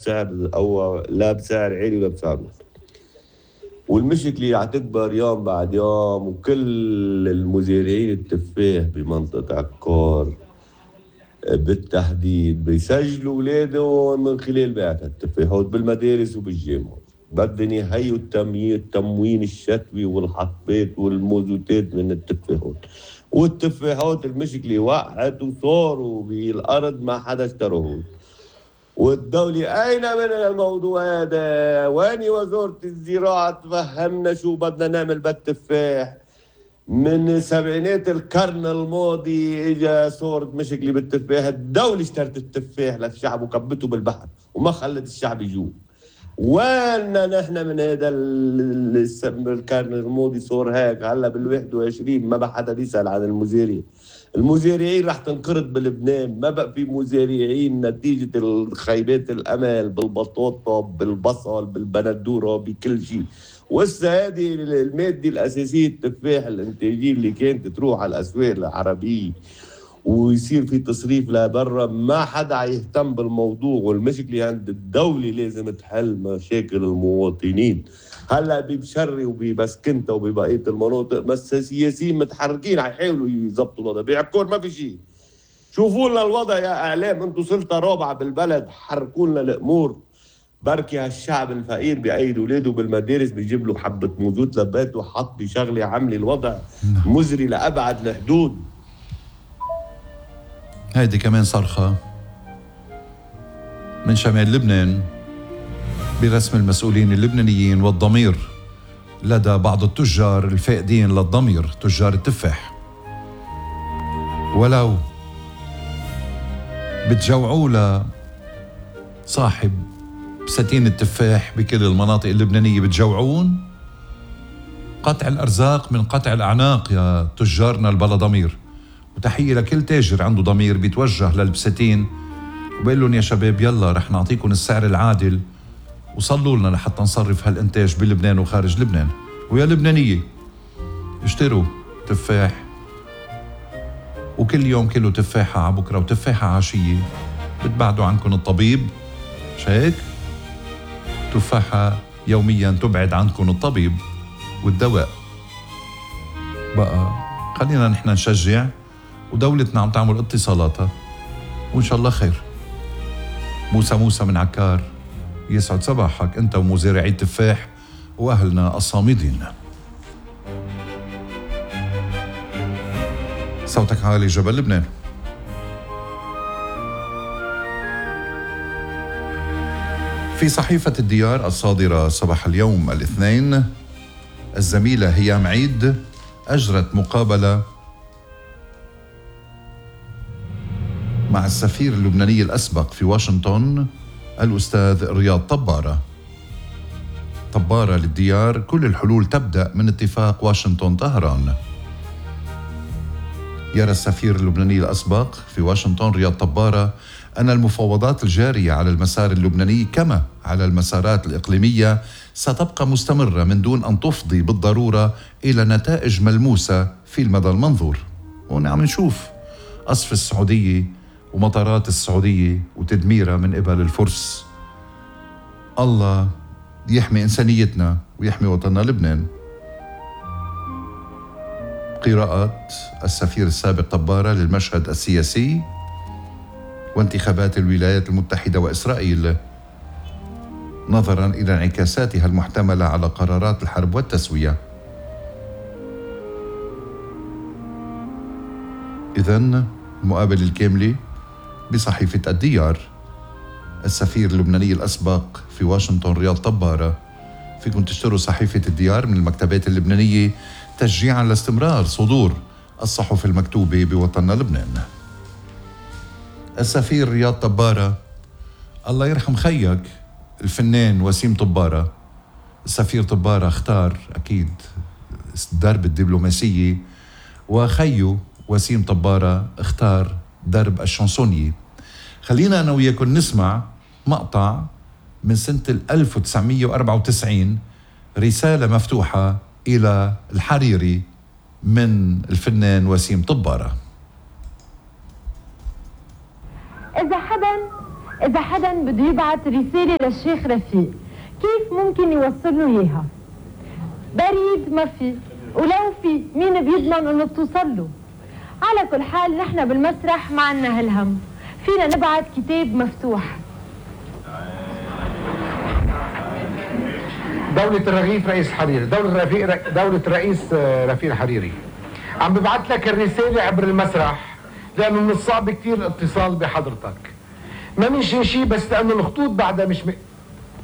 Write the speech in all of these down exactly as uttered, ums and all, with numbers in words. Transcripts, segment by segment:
بسعر أو لا بسعر عالي ولا بسعر منخفض. والمشكلة عتكبر يوم بعد يوم، وكل المزارعين التفاح بمنطقة عكار بالتحديد بيسجلوا أولادهم من خلال بيعة التفاحات بالمدارس وبالجامعات. بدهم يهيئوا التموين التموين الشتوي والحصبات والموزوتات من التفاحات. والتفاحات المشكلة وقعت وصاروا بالأرض ما حدا اشتروهم. والدولة أين من الموضوع هذا؟ وين وزارة الزراعة تفهمنا شو بدنا نعمل بالتفاح؟ من سبعينات القرن الماضي اجا صارت مشكلة بالتفاح، الدولة اشترت التفاح للشعب وكبته بالبحر وما خلت الشعب يجوع. وين نحن من هذا القرن الماضي صار هيك؟ هلا بالواحد وعشرين ما بقى حدا بيسأل عن المزارع. المزارعين رح تنقرض بلبنان، ما بقى في مزارعين نتيجة الخيبات الأمل بالبطاطا بالبصل بالبندورة بكل شيء. وهسه هذه المادة الأساسية التفاح الإنتاجية اللي كانت تروح على الأسواق العربية ويصير في تصريف لبرا، ما حدا يهتم بالموضوع. والمشكلة عند الدولة لازم تحل مشاكل المواطنين. هلا ببشري وببسكنتا وببقية المناطق بس السياسيين متحركين حيحاولوا يزبطوا الوضع. بعكور ما في شيء. شوفوا لنا الوضع يا اعلام، انتم سلطة رابعة بالبلد، حركوا لنا الامور. بركي هالشعب الفقير بأيد اولاده بالمدارس بيجيب له حبة موزوت لبيته وحط بشغلة عملي الوضع مزري لأبعد الحدود. هيدي كمان صرخة من شمال لبنان برسم المسؤولين اللبنانيين والضمير لدى بعض التجار الفاقدين للضمير، تجار التفاح. ولو بتجوعوا لصاحب بساتين التفاح بكل المناطق اللبنانية بتجوعون، قطع الأرزاق من قطع الأعناق يا تجارنا البلا ضمير. وتحية لكل تاجر عنده ضمير بيتوجه للبساتين وبقول لهم يا شباب يلا رح نعطيكم السعر العادل وصلوا لنا لحتى نصرف هالإنتاج بلبنان وخارج لبنان. ويا لبنانية اشتروا تفاح، وكل يوم كيلو تفاحة على بكرة وتفاحة عشية بتبعدوا عنكم الطبيب. مش هيك؟ تفاحة يوميا تبعد عنكم الطبيب والدواء. بقى خلينا نحن نشجع، ودولتنا عم تعمل اتصالاتها وإن شاء الله خير. موسى موسى من عكار، يسعد صباحك أنت ومزارعي التفاح وأهلنا الصامدين. صوتك عالي جبل لبنان. في صحيفة الديار الصادرة صباح اليوم الاثنين، الزميلة هيام عيد أجرت مقابلة مع السفير اللبناني الأسبق في واشنطن الأستاذ رياض طبارة. طبارة للديار: كل الحلول تبدأ من اتفاق واشنطن طهران. يرى السفير اللبناني الأسبق في واشنطن رياض طبارة أن المفاوضات الجارية على المسار اللبناني كما على المسارات الإقليمية ستبقى مستمرة من دون أن تفضي بالضرورة إلى نتائج ملموسة في المدى المنظور. ونعم نشوف قصف السعودية ومطارات السعودية وتدميرها من قبل الفرس. الله يحمي إنسانيتنا ويحمي وطننا لبنان. قراءة السفير السابق طبارة للمشهد السياسي وانتخابات الولايات المتحدة وإسرائيل نظراً إلى انعكاساتها المحتملة على قرارات الحرب والتسوية. إذن المقابلة الكاملة بصحيفة الديار. السفير اللبناني الأسبق في واشنطن رياض طبارة. فيكم تشتروا صحيفة الديار من المكتبات اللبنانية تشجيعاً لاستمرار صدور الصحف المكتوبة بوطننا لبنان. السفير رياض طبارة: الله يرحم خيك الفنان وسيم طبارة. السفير طبارة اختار أكيد درب الدبلوماسية، وخيو وسيم طبارة اختار درب الشانسونية. خلينا أنا وياكم نسمع مقطع من سنة ألف وتسعمية وأربعة وتسعين، رسالة مفتوحة إلى الحريري من الفنان وسيم طبارة. إذا حدا إذا حدا بده يبعت رسالة للشيخ رفيق كيف ممكن يوصل له إياها؟ بريد ما في، ولو في مين بيضمن إنه بتوصل له؟ على كل حال نحن بالمسرح ما عنا هالهم، فينا نبعت كتاب مفتوح. دولة الرغيف رئيس الحريري، دولة رفيق دولة الرئيس رفيق الحريري عم ببعث لك الرسالة عبر المسرح لأنه من الصعب كتير الاتصال بحضرتك. ما من شيء بس لأنه الخطوط بعدها مش م...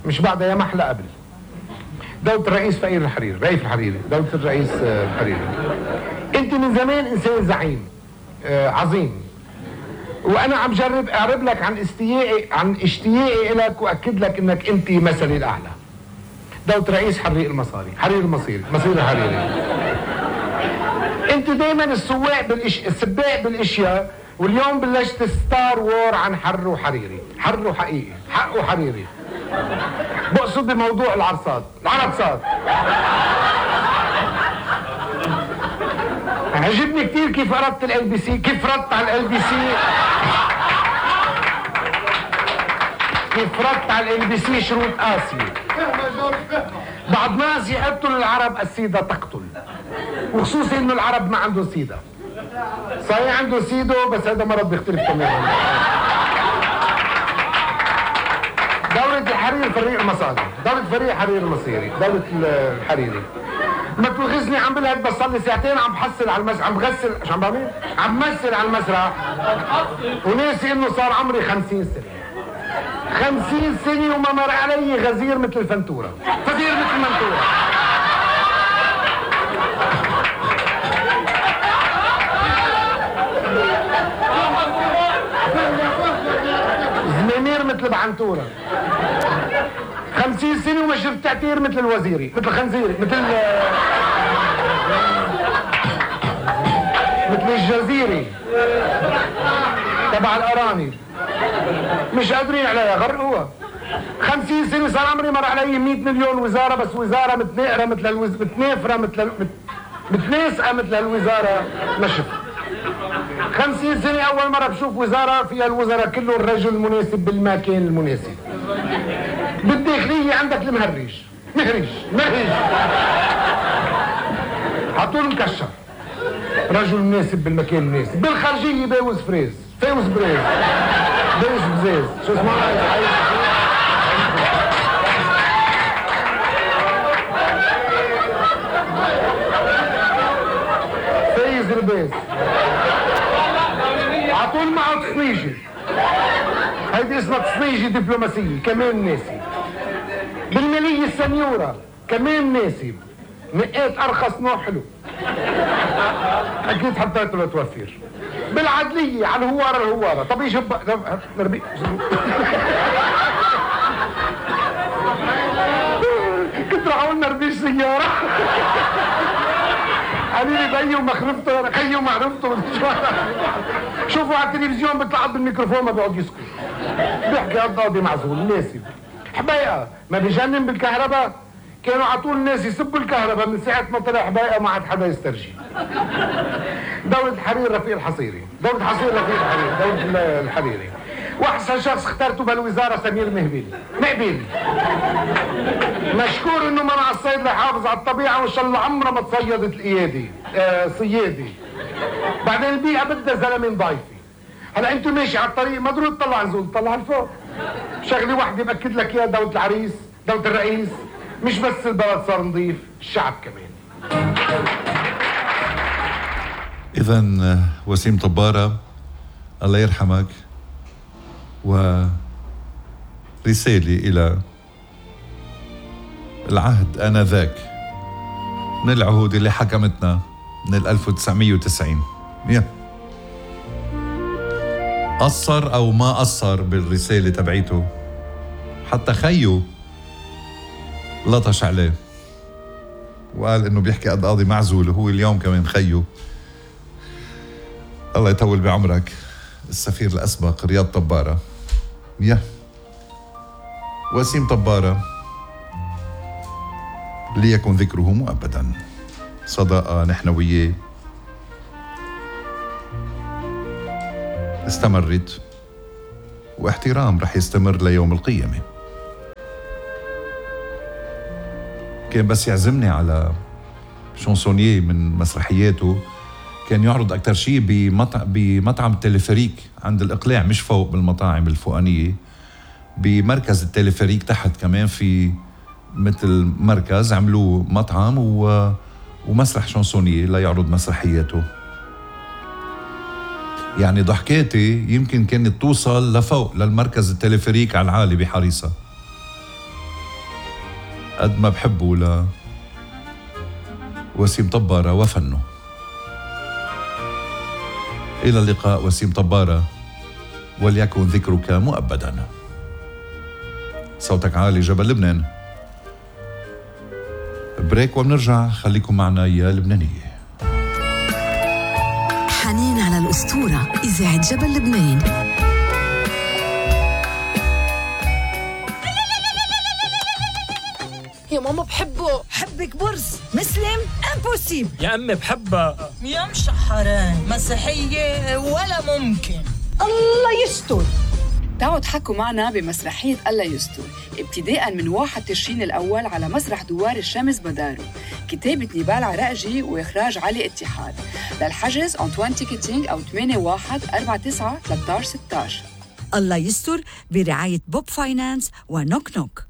مش بعدها يا محلى قبل. دولة الرئيس فقير الحريري، رئيس الحريري، دولة الرئيس الحريري. أنت من زمان إنسان زعيم آه عظيم، وأنا عم جرب أعرب لك عن استيائي عن اشتياقي إلك وأكد لك إنك أنت مثلي الأعلى. دولة رئيس حريق المصاري، حرير المصيري، مصير الحريري. انت دايما السواق بالإش... السباق بالاشياء، واليوم بلشت ستار وور عن حر وحريري، حر وحقيقي، حق وحريري. بقصد بموضوع العرصات، العربصات. عجبني كثير كيف قربت ال بي سي، كيف ردت على ال بي سي. كيف ردت على ال بي سي شروط قاسية. بعض ناس يقتلوا العرب السيدة تقتل، وخصوصي انه العرب ما عنده سيدة. صحيح عنده سيدو بس هذا مرض بيختلف تماما. دولة الحرير فريق المصاري، دولة فريق حرير المصيري، دولة الحريري. ما تلغزني عم بلهد بس صار لي ساعتين عم بحصل على المسرح، عم بغسل، شو عم بعمل؟ عم بمثل على المسرح وناسي انه صار عمري خمسين سنة. خمسين سنة وما مر علي غزير مثل الفنتورة، فزير مثل المنتورة. زمامير مثل بعنتورة. خمسين سنة وما شفت تعتير مثل الوزيري، مثل الخنزيري، مثل مثل الجزيري تبع الأرانب. مش قادرين عليها، غرقوها. خمسين سنة صار عمري مر علي مئة مليون وزارة، بس وزارة متناقرة مثل الوز... متنافرة مثل مت... متناسقة مثل هالوزارة ما شفت. خمسين سنة أول مرة بشوف وزارة فيها الوزراء كله الرجل المناسب بالمكان المناسب. بالداخلية عندك المهرج، مهرج مهرج عطول مكشر، رجل مناسب بالمكان المناسب. بالخارجية باوز فريز، فاوز بريز، باوز بزاز، شو اسمه؟ فايز رباز. عطول معه تصنيجي، هيدي اسمها تصنيجي دبلوماسية كمان مناسب. بالمالية السنيورة كمان مناسب، نقيت أرخص نوع حلو أكيد حطيته لتوفير. بالعدلية على الهوارة الهوارة. طب ايش هب نربي كنت رح اقول نربيش سيارة. قالوا لي بيي ومخرفته انا خيي ومعرفته. شوفوا على التلفزيون بيطلع بالميكروفون ما بيقعد يسكت، بيحكي قد قاضي معزول مناسب. حبيقة ما بيجنن بالكهرباء، كانوا على طول الناس يسبوا الكهرباء من ساعة ما طلع حبيقة ما عاد حدا يسترجي. دولة الحرير رفيق الحصيري، دولة الحصير رفيق الحرير، دولة الحريري. واحسن شخص اخترته بالوزارة سمير مهبلي، مهبلي. مشكور انه منع الصيد ليحافظ على الطبيعة، وان شاء الله عمره ما تصيدت الايادي، آه صيادي. بعدين البيئة بدها زلمة ضايفة. هلا انتوا ماشي على الطريق ما ضروري تطلع نزول، تطلع لفوق. شغلة واحدة باكد لك اياها دولة العريس، دولة الرئيس، مش بس البلد صار نظيف، الشعب كمان. إذا وسيم طبارة الله يرحمك، ورسالة إلى العهد آنذاك من العهود اللي حكمتنا من ألف وتسعمية وتسعين. يا قصر أو ما قصر بالرسالة تبعيته، حتى خيو لطش عليه وقال إنه بيحكي قد قاضي معزول، وهو اليوم كمان خيو. الله يطول بعمرك السفير الأسبق رياض طبارة. يا وسيم طبارة ليكن ذكره مؤبدا. صداقة نحن وياه استمرت واحترام رح يستمر ليوم القيامة. كان بس يعزمني على شونسونييه من مسرحياته، كان يعرض أكتر شيء بمطعم, بمطعم التلفريك عند الإقلاع، مش فوق بالمطاعم الفوقانية، بمركز التلفريك تحت كمان في مثل مركز عملوه مطعم و... ومسرح شونسونييه ليعرض مسرحياته. يعني ضحكاتي يمكن كانت توصل لفوق للمركز التلفريك على العالي بحريصة. قد ما بحبه ل وسيم طبارة وفنه. إلى اللقاء وسيم طبارة، وليكن ذكرك مؤبدا. صوتك عالي جبل لبنان. بريك وبنرجع، خليكم معنا يا لبنانية. حنين على الأسطورة، إذاعة جبل لبنان. يا ماما بحبه. حبك برص مسلم امبوسيبل. يا أمي بحبها. يا مشحران مسيحية ولا ممكن. الله يستر. تعالوا تحكوا معنا بمسرحية الله يستر ابتداء من واحد تشرين الأول على مسرح دوار الشمس بدارو. كتابة نيبال عراقجي وإخراج علي اتحاد. للحجز أنطوان تيكتينج أو ثمانية واحد أربعة تسعة ثلاثة عشر ستة عشر. الله يستر برعاية بوب فاينانس ونوك نوك.